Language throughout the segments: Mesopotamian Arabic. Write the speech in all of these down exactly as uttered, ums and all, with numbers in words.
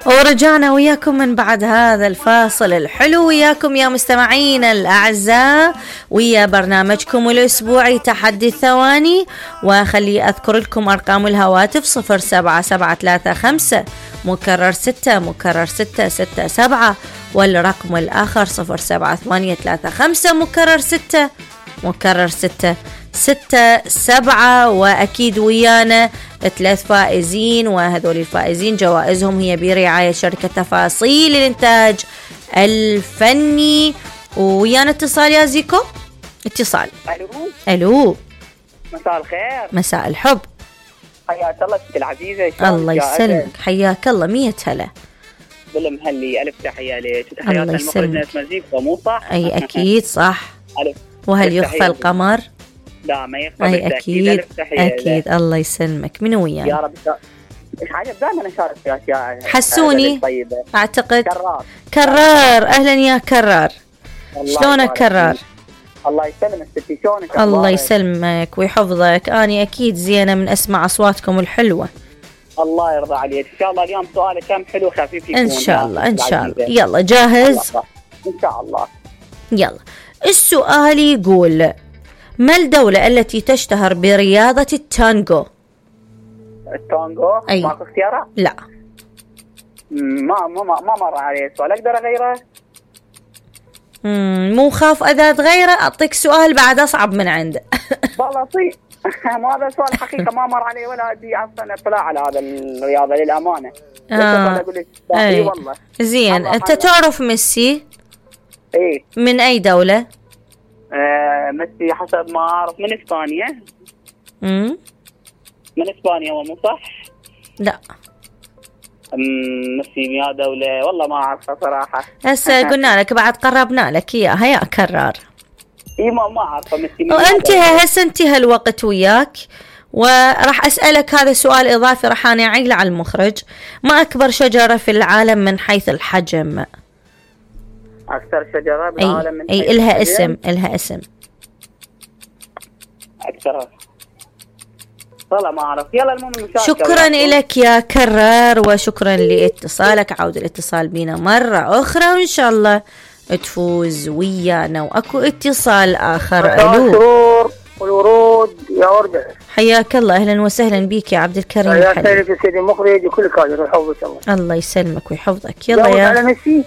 ورجعنا وياكم من بعد هذا الفاصل الحلو وياكم يا مستمعين الأعزاء ويا برنامجكم الأسبوعي تحدي الثواني. وخلي أذكر لكم أرقام الهواتف صفر سبعة سبعة ثلاثة خمسة مكرر ستة مكرر ستة ستة سبعة، والرقم الآخر صفر سبعة ثمانية ثلاثة خمسة مكرر ستة مكرر ستة ستة سبعة. وأكيد ويانا ثلاث فائزين، وهذول الفائزين جوائزهم هي برعاية شركة تفاصيل الإنتاج الفني. ويانا اتصال يا زيكو. اتصال. ألو. ألو. مساء الخير. مساء الحب. حياك الله ست العزيزة. الله يسلمك. حياك الله. مية هلا. بالمهلي. ألف تحية لك. تحيات المخرج ناس مزيكا مو صح؟ أي أكيد صح. ألف. وهل يخفى القمر؟ لا ما يخفى. أي أكيد أكيد. الله يسلمك. من ويانا؟ يا رب. إيش عجب دائما أشارك في أشياء حسوني طيبة. أعتقد كرار. كرار. أهلا يا كرار. شلونك كرار؟ الله يسلمك ستي. شلونك؟ الله يسلمك ويحفظك. أنا أكيد زينة من أسمع أصواتكم الحلوة. الله يرضى عليك. إن شاء الله اليوم سؤال كم حلو خفيف يكون. إن شاء الله إن شاء الله. يلا جاهز؟ إن شاء الله. يلا السؤال يقول: ما الدولة التي تشتهر برياضة التانجو؟ التانجو؟ أي. ماكو اختيارات؟ لا. ما ما ما مر علي السؤال. أقدر أغيره؟ مم. مو خاف إذا تغيره أعطيك سؤال بعد أصعب من عنده. والله طيب. ما هذا سؤال حقيقة ما مر علي ولا أدري أصلا اطلاع على هذا الرياضة للأمانة. آه. أقول لك أي والله. زين. أنت تعرف ميسي؟ إيه. من أي دولة؟ آه ميسي حسب ما أعرف من إسبانيا. مم. من إسبانيا هو مو صح؟ لا. ميسي يا دولة والله ما أعرفها صراحة. هسه قلنا لك بعد قربنا لك إياها يا كرار. إيه ما ما أعرفها ميسي. وانتهى هسه انتهى الوقت وياك، وراح أسألك هذا سؤال إضافي راح أنا أعيله على المخرج. ما أكبر شجرة في العالم من حيث الحجم؟ أكثر شجرة بالعالم من أي أي إلها اسم. إلها اسم أكثر والله ما أعرف. يلا المهم المشاركة. شكرا لك يا كرار وشكرا لاتصالك. عود الاتصال بينا مرة أخرى وإن شاء الله تفوز ويانا. وأكو اتصال آخر. ألو. والورود يا وردة. حياك الله. أهلا وسهلا بيك يا عبد الكريم. يا سيدي سيدي المخرج وكل كادر ويحفظك الله. الله يسلمك ويحفظك. يلا يا. على ميسي؟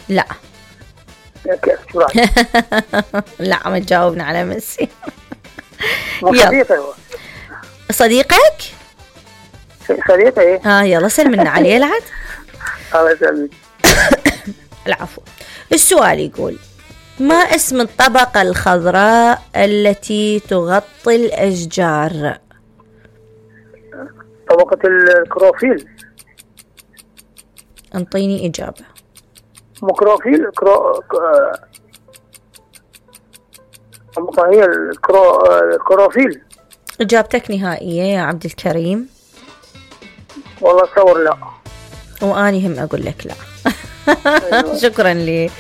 لا. كيف شو رايك؟ لا ما تجاوبنا على ميسي. صديقي هو. صديقك؟ صديقي ايه. ها يلا سلمنا عليه العد. الله يسلمك. العفو. السؤال يقول: ما اسم الطبقة الخضراء التي تغطي الأشجار؟ طبقة الكروفيل. انطيني إجابة. مكروفيل. كرو طبقة هي الكرو الكروفيل. إجابتك نهائية يا عبد الكريم؟ والله أتصور لا. وأني هم أقول لك لا. شكرا لي.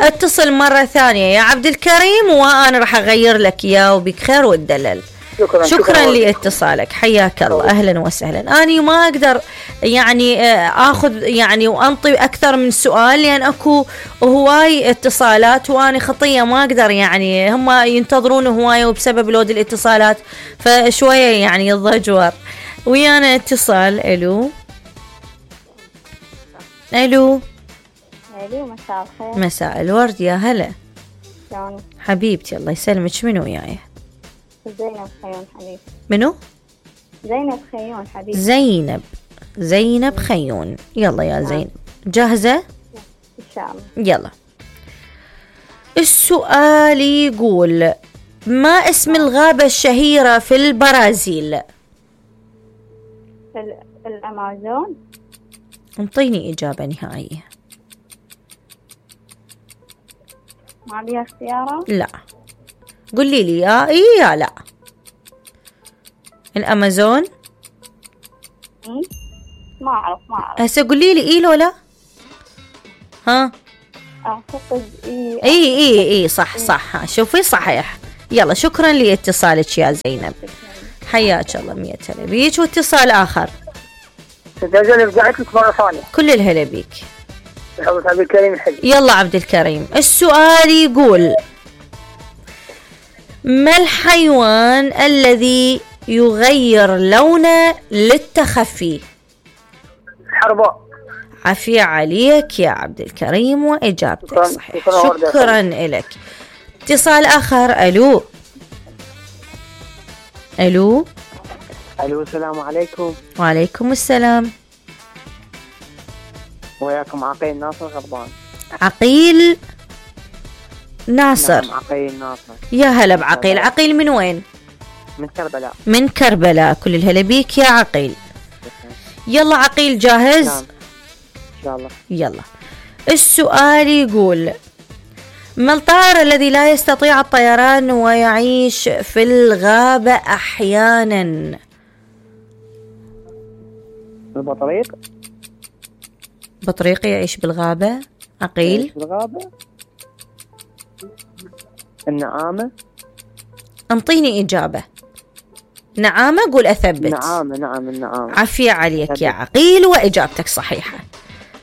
اتصل مرة ثانية يا عبد الكريم وأنا راح أغير لك إياه وبك خير والدلل. شكرا, شكرا لاتصالك. حياك الله. أهلا وسهلا. أنا ما أقدر يعني أخذ يعني وأنطي أكثر من سؤال لأن أكو هواي اتصالات وأنا خطية ما أقدر يعني هم ينتظرون هواي وبسبب لود الاتصالات فشوية يعني الضجور. ويانا اتصال. ألو. ألو. ألو. مساء الخير. مساء الورد يا هلا. شلونك حبيبتي؟ الله يسلمك. منو وياي؟ زينب خيون حبيبي. منو؟ زينب خيون حبيبي. زينب. زينب خيون. يلا يا زينب جاهزة؟ إن شاء الله. يلا السؤال يقول: ما اسم الغابة الشهيرة في البرازيل؟ الأمازون. انطيني إجابة نهائية. ما بيها اختيارات؟ لا. قولي لي يا إيه يا لا. الأمازون. ما أعرف ما أعرف. هسه قولي لي إيه لو لا. ها. أعتقد إيه. إيه إيه إيه صح صح. شوفي صحيح. يلا شكرا لاتصالك يا زينب. حياك الله. مية هلا بيك. واتصال آخر. تجازل رجعت لك مرة ثانية. كل الهلا بيك. حضرة عبد الكريم الحلي. يلا عبد الكريم، السؤال يقول: ما الحيوان الذي يغير لونه للتخفي؟ الحرباء. عافية عليك يا عبد الكريم وإجابتك شكراً. صحيحة. شكراً. شكرا لك. اتصال آخر. ألو ألو. الو السلام عليكم. وعليكم السلام. وياكم عقيل ناصر غضبان. عقيل ناصر. نعم عقيل ناصر. يا هلا بعقيل. عقيل من وين؟ من كربلاء. من كربلاء. كل الهلا بيك يا عقيل. يلا عقيل جاهز؟ نعم ان شاء الله. يلا السؤال يقول: ما الطائر الذي لا يستطيع الطيران ويعيش في الغابة أحيانا؟ البطريق. بطريق يعيش بالغابة؟ عقيل. يعيش بالغابة. النعامة. انطيني إجابة. نعامة. قول أثبت. نعامة. نعم النعامة. عافية عليك يا عقيل وإجابتك صحيحة.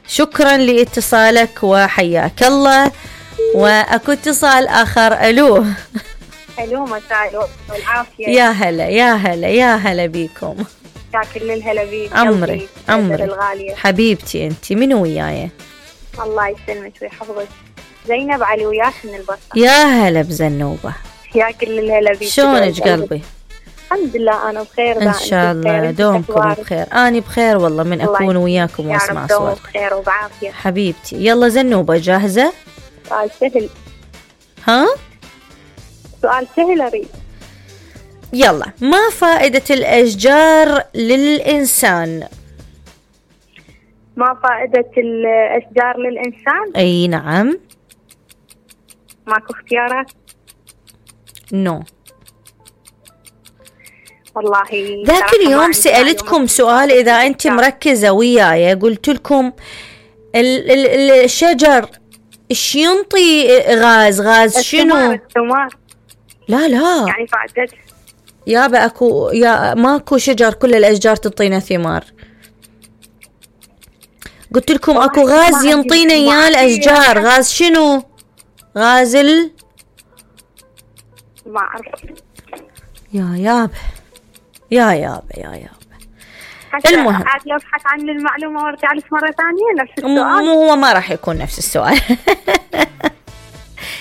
شكرا لاتصالك وحياك الله. وأكو اتصال آخر. ألو. الو مساء والعافية. يا هلا يا هلا يا هلا بيكم. يا كل الهلا بيك. عمري عمري الغالية حبيبتي. أنت منو وياي؟ الله يسلمك ويحفظك. زينب علي وياك من البصرة. يا هلا بزنوبة. يا كل الهلا بيك. شلونك قلبي؟ الحمد لله أنا بخير. إن شاء الله دومكم بخير. أنا بخير والله من أكون وياكم وأسمع صوتك. بخير وبعافية حبيبتي. يلا زنوبة جاهزة؟ سؤال سهل. ها؟ سؤال سهل أريد. يلا. ما فائدة الأشجار للإنسان؟ ما فائدة الأشجار للإنسان؟ أي نعم. ماكو اختيارات؟ نو. والله ذاك اليوم سألتكم سؤال إذا أنت مركزة وياي، قلت لكم ال ال الشجر إيش ينطي غاز؟ غاز شنو؟ الثمار. لا لا يعني فائدة يابا أكو يا ماكو شجر كل الأشجار تعطينا ثمار. قلت لكم أكو غاز ينطينا إياه الأشجار. غاز شنو؟ غاز ال ما أعرف. يا يابا يا يابا يا يابا. المهم عاد لو ابحث عن المعلومة وارجع لك مرة ثانية نفس السؤال. مو هو ما راح يكون نفس السؤال.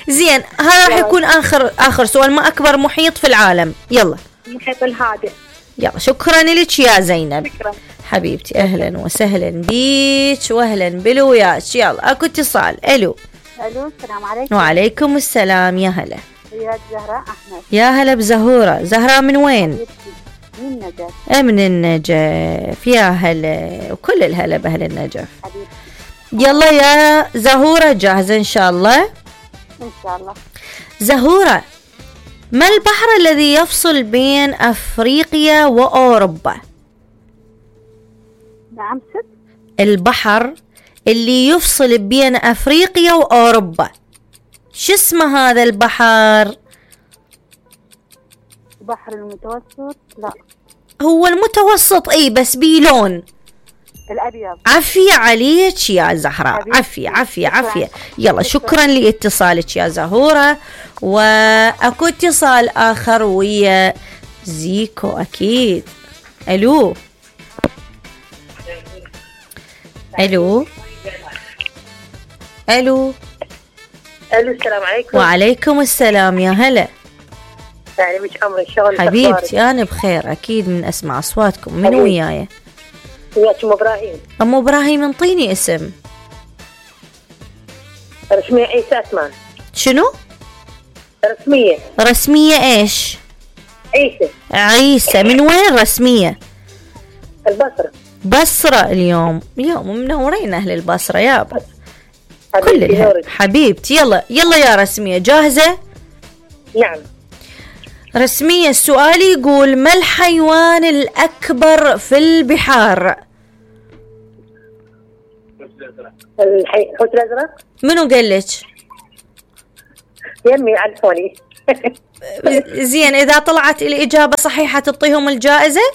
زين هذا راح يكون آخر آخر سؤال. ما أكبر محيط في العالم؟ يلا. المحيط الهادئ. يلا شكرا لك يا زينب. شكرا حبيبتي. أهلا وسهلا بيك وأهلا بلوياك. يلا أكو اتصال. ألو. ألو السلام عليكم. وعليكم السلام. يا هلا. وياك زهراء أحمد. يا هلا بزهورة. زهراء من وين؟ من النجف. من النجف. يا هلا وكل الهلا بأهل النجف. حبيبتي. يلا يا زهورة جاهزة إن شاء الله؟ إن شاء الله. زهورة، ما البحر الذي يفصل بين أفريقيا وأوروبا؟ نعم ست. البحر اللي يفصل بين أفريقيا وأوروبا شو اسمه هذا البحر؟ البحر المتوسط. لا هو المتوسط اي بس بيه لون الأبيض. عافية عليك يا زهراء. عافية عافية عافية. يلا شكرا لاتصالك يا زهورة. واكو اتصال آخر ويا زيكو أكيد. ألو. ألو. ألو. الو السلام عليكم. وعليكم السلام. يا هلا. يعني مش عمري الشغل. حبيبتي أنا بخير أكيد من أسمع أصواتكم. من وياي؟ وياك أم إبراهيم. أم إبراهيم انطيني اسم. رسمية عيسى عثمان. شنو؟ رسمية. رسمية إيش؟ عيسى. عيسى. من وين رسمية؟ البصرة. بصرة. اليوم يوم منورين أهل البصرة يابا. كل حبيبتي الهلا. نورك. حبيبتي. يلا يلا يا رسمية جاهزة؟ نعم. رسمية السؤال يقول: ما الحيوان الأكبر في البحار؟ الحي... الحوت الأزرق. منو قال لك؟ يمي عرفوني. زين إذا طلعت الإجابة صحيحة تعطيهم الجائزة؟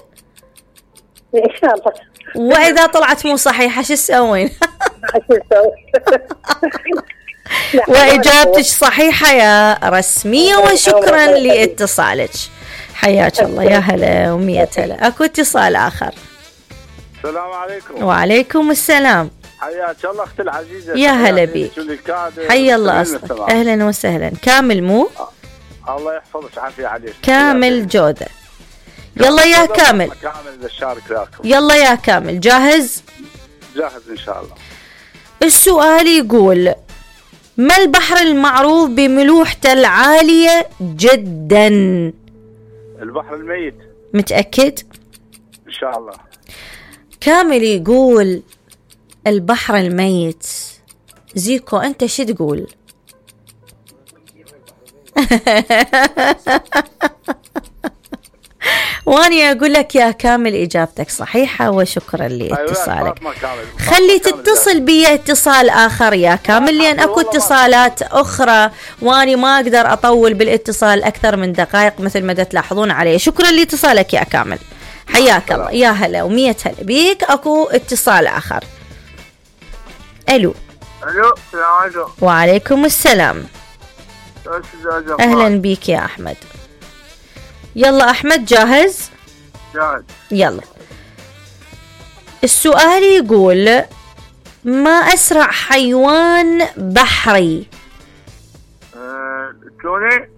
ان شاء الله. واذا طلعت مو صحيحه شو تسوين؟ شو نسوي؟ لا، واجابتك صحيحه يا رسميه، وشكرا لاتصالك. حياك الله، يا هلا ومية هلا. اكو اتصال اخر. السلام عليكم. وعليكم السلام. حياك الله اختي العزيزه. يا هلا بيك. حيا الله اصلك. اهلا وسهلا. كامل مو؟ الله يحفظك عافيه عليك. كامل جوده. يلا يا كامل. كامل الشارك وياكم. يلا يا كامل، جاهز؟ جاهز ان شاء الله. السؤال يقول: ما البحر المعروف بملوحته العالية جدا؟ البحر الميت. متأكد؟ ان شاء الله. كامل يقول البحر الميت. زيكو انت شو تقول؟ واني اقول لك يا كامل اجابتك صحيحه، وشكرا لاتصالك. خلي تتصل بي اتصال اخر يا كامل، لان اكو اتصالات اخرى واني ما اقدر اطول بالاتصال اكثر من دقائق مثل ما تلاحظون علي. شكرا لاتصالك يا كامل، حياك الله. يا هلا ومية هلا بيك. اكو اتصال اخر. الو. الو السلام عليكم. وعليكم السلام. اهلا بيك يا احمد. يلا احمد، جاهز؟ جاهز. يلا. السؤال يقول: ما اسرع حيوان بحري؟ توني.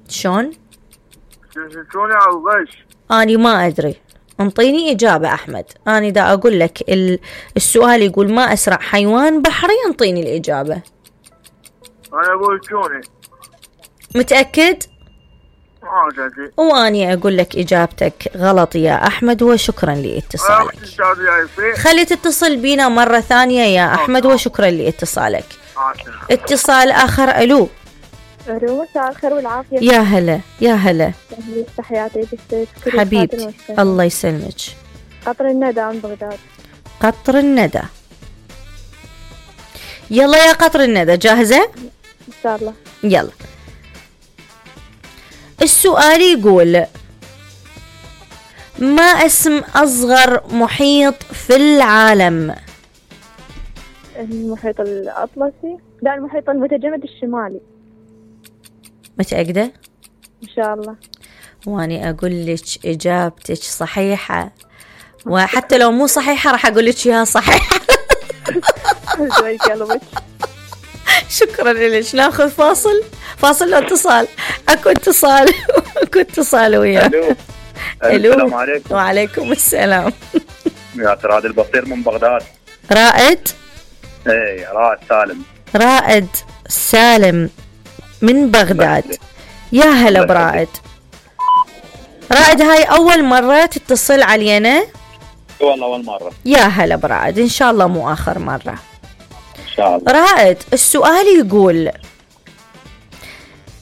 شلون؟ توني او غش؟ اني ما ادري، انطيني اجابه احمد. اني دا اقول لك السؤال يقول ما اسرع حيوان بحري، انطيني الاجابه. انا اقول توني. متاكد؟ واني اقول لك اجابتك غلط يا احمد، وشكرا لاتصالك. خلي تتصل بينا مره ثانيه يا احمد، وشكرا لاتصالك. اتصال اخر. الو. الو، مساء الخير والعافيه. يا هلا يا هلا. تحياتي حبيبتي، الله يسلمك. قطر الندى من بغداد. قطر الندى. يلا يا قطر الندى، جاهزه؟ ان شاء الله. يلا. السؤال يقول: ما اسم أصغر محيط في العالم؟ المحيط الأطلسي. لا، المحيط المتجمد الشمالي. متأكدة؟ إن شاء الله. واني أقول لك إجابتك صحيحة، وحتى لو مو صحيحة راح أقول لك إياها صحيحة. شكرا لك. ناخذ فاصل فاصل لو اتصال. اكو اتصال اكو اتصال وياك. الو. السلام عليكم. وعليكم السلام. يا رائد البصير من بغداد. رائد؟ اي رائد سالم. رائد سالم من بغداد. يا هلا برائد. رائد، هاي اول مرة تتصل علينا؟ والله اول مرة. يا هلا برائد، ان شاء الله مو اخر مرة. ان شاء الله. رائد، السؤال يقول: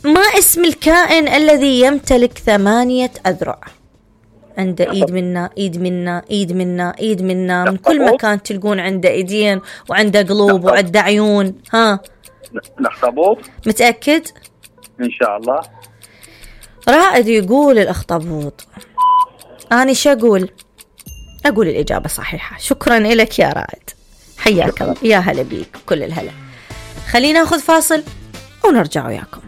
ما اسم الكائن الذي يمتلك ثمانية أذرع؟ عنده ايد منا ايد منا ايد منا ايد منا من كل مكان تلقون عنده ايدين وعنده قلوب وعنده عيون. ها؟ الاخطبوط. متأكد؟ ان شاء الله. رائد يقول الاخطبوط. أنا شو أقول؟ أقول الإجابة صحيحة. شكرا لك يا رائد، حياك الله. يا هلا بيك، كل الهلا. خلينا ناخذ فاصل ونرجع وياكم.